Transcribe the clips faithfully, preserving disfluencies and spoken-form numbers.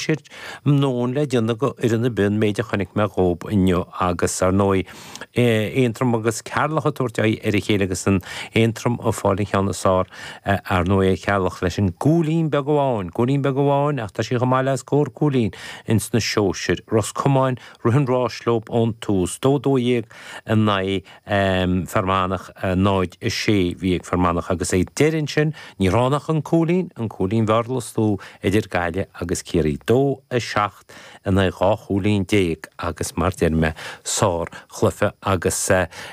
siad ndóthain le déanamh go fhoireann ar bith an méid a chonaic mé dhób inniu agus ar ndóigh Aontroim agus Ceatharlach ag tabhairt aghaidh ar a chéile agus an Aontroim ag fáil an cheann is fearr ar ndóigh ar Cheatharlach leis an gcúilín beag amháin, cúilín beag amháin ach tá sí chomh maith le scór cúilín ins na sóisir. Ros Comáin rith an rás leo ón tús, dó dó dhéag in aghaidh Fear Manach, náid a sé bhí ag Fear Manach agus ag deireadh ansin ní raibh ann ach an cúilín, an cúilín Bhearla is lú idir Gaillimh agus Ciarraí, dó a seacht in aghaidh dhá chúilín déag agus mar deir mé sár chluiche agus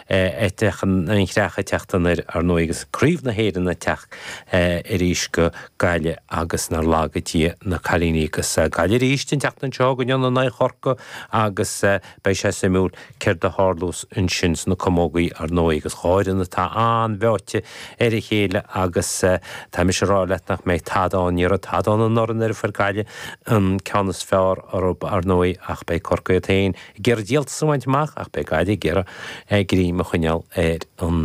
eiteach an chreach ag teacht anoir ar ndóigh agus Craobh na hÉireann ag teacht arís go Gaillimh agus nár laga Dia na cailíní agus Gaillimh arís an tseachtain seo chugainn in aghaidh Chorcaí agus beidh sé suimiúil céard a tharlós ansin sna camógaí ar ndóigh agus dhá fhoireann atá an-bheoite ar a chéile agus tá mise ag rá leat nach mbeidh tada ann, ní raibh tada ann anuraidh nuair a fuair Gaillimh an ceann is fearr orthu ar ndóigh ach beidh Corcaigh iad féin ag iarraidh díoltas a bhaint amach ach beidh Gaillimh ag iarraidh greim a choinneáil ar an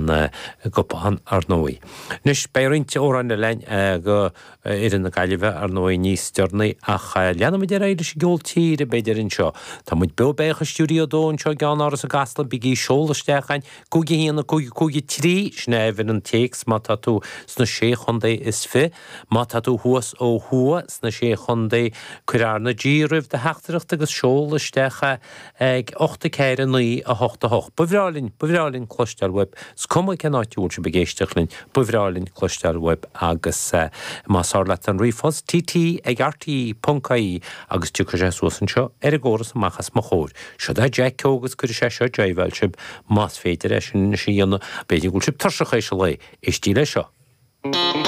gcupán ar ndóigh. Anois beidh roinnt amhráin eile againn go fhoireann na Gaillimhe ar ndóigh níos deireanaí ach leanfaimid ar aghaidh leis an gceol tíre b'fhéidir anseo. Tá muid beo béach i Stiúideo a dó anseo i gceannáras i gCasla, bígí ag seoladh isteach chugainn, cúig a haon a cúig a cúig a trí, sin é uimhir an téacs má tá tú sna sé chontae is fiche. Má tá tú thuas ó thuaidh sna sé chontae, cuir R na G roimh do theachtaireacht agus seol isteach é ag ocht a ceathair a naoi a hocht a hocht. Ba bhreá linn, ba bhreá linn cloisteáil uaibh. Is cuma cén áit a bhfuil sibh ag éisteacht linn, ba bhreá linn cloisteáil uaibh agus más fearr leat an ríomhphost, T T ag R T E ponc I E agus tiocfaidh sé suas anseo ar an gcóras amach as mo chomhair. Siod é Jack Keogh agus cuirfidh sé seo jiveáil sibh más féidir é sin anois a dhéanamh. B'fhéidir go bhfuil sibh tuirseach théis an lae. Éistigí leis seo.